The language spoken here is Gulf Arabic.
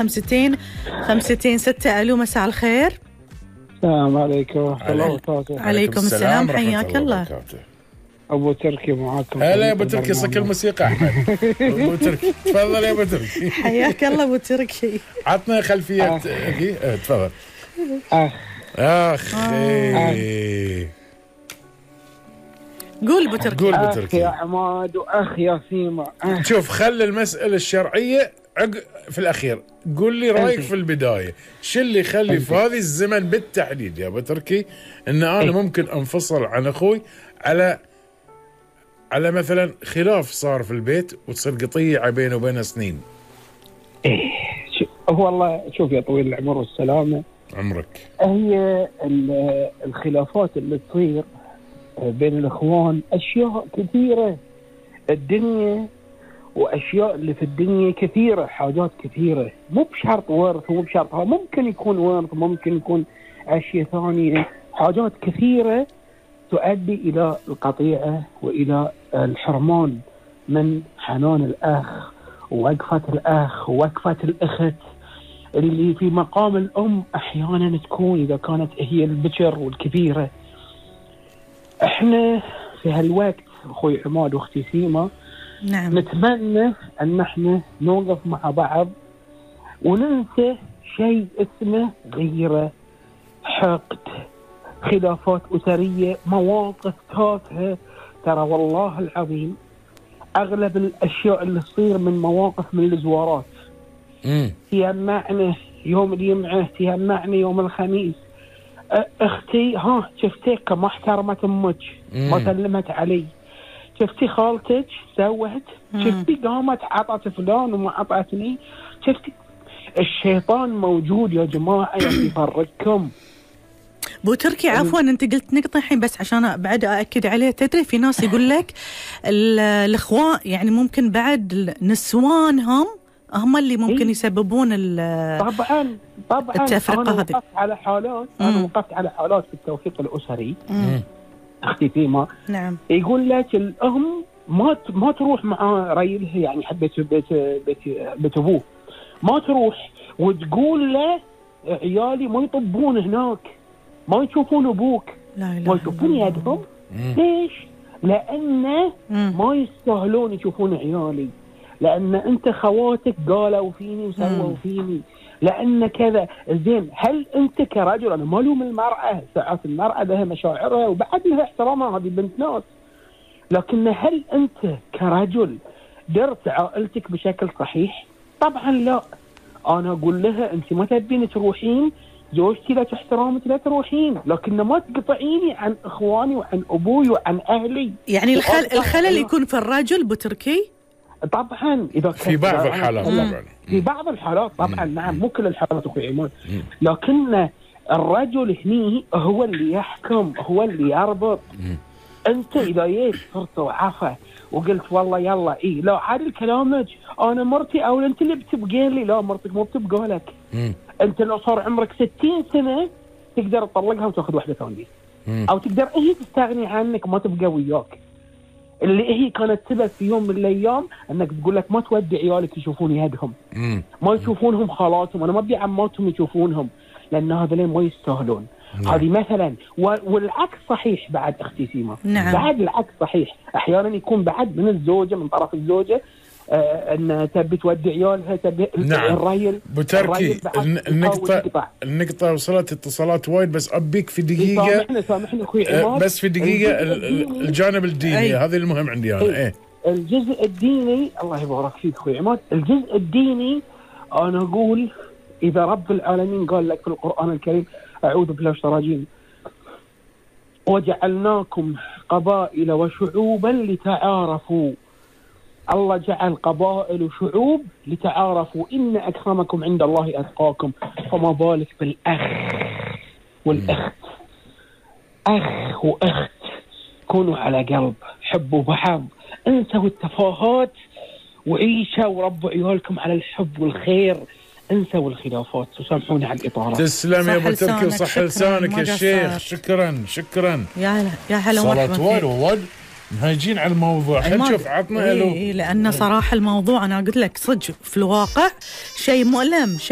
65 6. ألو، مساء الخير. السلام عليكم ورحمة الله وبركاته. عليكم السلام، حياك الله. أبو تركي معاكم. هلا يا أبو تركي، صك الموسيقى أحمد. أبو تركي تفضل يا أبو تركي. حياك الله أبو تركي. عطنا خلفية تفضل. قول أبو تركي. قول أبو تركي. يا عماد وأخ يا سيما. شوف، خل المسألة الشرعية في الأخير. قول لي رأيك في البداية، شو اللي يخلي في هذه الزمن بالتحديد يا أبو تركي إن أنا ممكن أنفصل عن أخوي على مثلا خلاف صار في البيت وتصير قطيعة بينه وبينه سنين؟ هو والله شوف يا طويل العمر والسلامة عمرك، هي الخلافات اللي تصير بين الإخوان أشياء كثيرة. الدنيا وأشياء اللي في الدنيا كثيرة، حاجات كثيرة، مو بشرط ورث ومو بشرط، ممكن يكون ورث، ممكن يكون أشياء ثانية، حاجات كثيرة تؤدي إلى القطيعة وإلى الحرمان من حنان الأخ ووقفة الأخ ووقفة الأخت اللي في مقام الأم. أحيانا تكون إذا كانت هي البكر والكبيرة. إحنا في هالوقت أخوي عماد وأختي سيما، نعم، نتمنى أن احنا نوقف مع بعض وننسى شيء اسمه غيرة، حقد، خلافات أسرية، مواقف تافهة. ترى والله العظيم أغلب الأشياء اللي تصير من مواقف من الزوارات. تيمعنا يوم الجمعة، تيمعنا يوم الخميس، أختي شفتك ما احترمت أمك، ما سلمت علي، شفتي خالتك سوت، شفتي قامت عطت فلان وما عطتني، شفتي. الشيطان موجود يا جماعة يفرقكم. بو تركي عفوا، انت قلت نقطة الحين بس عشان بعد أأكد عليه. تدري في ناس يقول لك الإخوان يعني ممكن بعد نسوانهم هم اللي ممكن يسببون طبعا التفرقة هذه. أنا وقفت على حالات في التوفيق الأسري. أختي فيما، نعم، يقول لك الأم ما تروح مع ريلها، يعني حبيت بيت أبوه، ما تروح وتقول له عيالي ما يطبون هناك، ما يشوفون أبوك، ما يشوفون يدهم. ليش؟ لأن ما يستاهلون يشوفون عيالي، لأن أنت خواتك قالوا فيني وسووا فيني، لأن كذا. زين، هل أنت كرجل، أنا ما لوم المرأة، ساعات المرأة لها مشاعرها وبعد لها احترامها، هذه بنت ناس، لكن هل أنت كرجل درت عائلتك بشكل صحيح؟ طبعا لا. أنا أقول لها أنت ما تبين تروحين، زوجتي لا تحترمك لا تروحين، لكن ما تقطعيني عن إخواني وعن أبوي وعن أهلي. يعني الخلل يكون في الرجل بتركي؟ طبعا إذا في بعض الحالات طبعا، في بعض الحالات طبعا، نعم، مو كل الحالات أخوي عماد، لكن الرجل هني هو اللي يحكم، هو اللي يربط. أنت إذا جيت صرت وعفة وقلت والله يلا لا عادل كلامك، أنا مرتي أو أنت اللي بتبقى لي، لا مرتك مو بتبقى لك. أنت لو صار عمرك 60 سنة تقدر تطلقها وتأخذ واحدة ثانية، أو تقدر هي تستغني عنك ما تبقى وياك، اللي هي كانت سبب في يوم من الأيام أنك تقول لك ما تودي عيالك يشوفون يدهم، ما يشوفونهم خالاتهم، أنا ما أبي عماتهم يشوفونهم، لأن هذولين ما يستاهلون. هذه مثلا. والعكس صحيح بعد أختي سيما. نعم. بعد العكس صحيح، أحيانا يكون بعد من الزوجة، من طرف الزوجة، أن تبي تودي عيالها، تبي الريل. بتركي النقطة وصلت اتصالات وايد، بس أبيك في دقيقة. سامحني أخوي عماد، بس في دقيقة الجانب الديني هذا المهم عندي أنا. الجزء الديني، الله يبارك فيك أخوي عماد، الجزء الديني أنا أقول إذا رب العالمين قال لك في القرآن الكريم، أعوذ بالله من الشيطان الرجيم، وجعلناكم قبائل وشعوبا لتعارفوا. الله جعل قبائل وشعوب لتعارفوا، إن أكرمكم عند الله أتقاكم. فما بالك بالأخ والأخت، أخ وأخت، كونوا على قلب، حبوا بعض، انسوا التفاهات وعيشوا وربوا عيالكم على الحب والخير، انسوا الخلافات. وسامحوني على الإطارة. تسلم يا أبو تركي وصح لسانك يا شيخ. شكرا يا هلا ومرحبا. صارت نهاجين على الموضوع. خلينا نشوف عطنا الو. لأن صراحة الموضوع أنا قلت لك صدق في الواقع شيء مؤلم، شيء